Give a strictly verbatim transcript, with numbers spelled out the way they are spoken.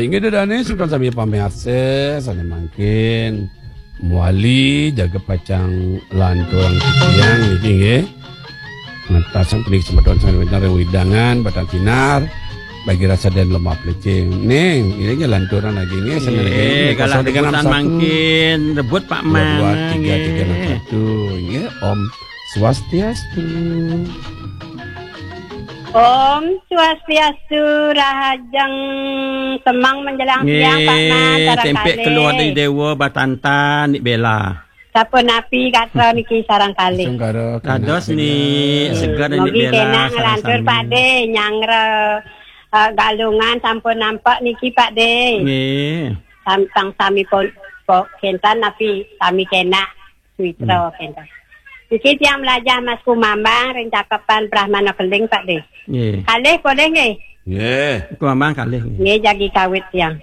Inggih ida dané, semeton sami pamiarsa, sané mangkin mawali jaga pacang lanturang titiang niki nggih. Ngentasang puniki semeton sané wénten ring wewidangan, batan sinar, bagi rasa dan lemah pelicing. Ning, ini lanturang lagi nggih, sané lagi nggih, galah kosong tiga enam satu. Mangkin, rebut Pak Mang, dua dua tiga tiga enam satu, nggih. Nggih, Om Swastiastu. Om Swastiastu, rahajeng semeng menjelang siang, Pak Mang, nggih, sareng tempek kalih. Keluar dari Dewa, Batantan, Nik Bella. Sapunapi gatra niki sareng kalih. Sungkara, dados, Nik, seger, Nik Bella, sareng sami. Mugi kenak nglantur, Pak De, nyanggra, eh, Galungan sampun nampak niki, Pak De. Nggih. Sam-, tang sami pun, po-, kénten napi sami kenak. Suitra, hmm, kénten. Niki tiang mlajah Mas Kumambang ring Cakepan Brahmana Keling, Pak De. Nggih. Kalih polih nggih. Nggih. Kumambang kalih nggih. Nggih, jagi kawit tiang.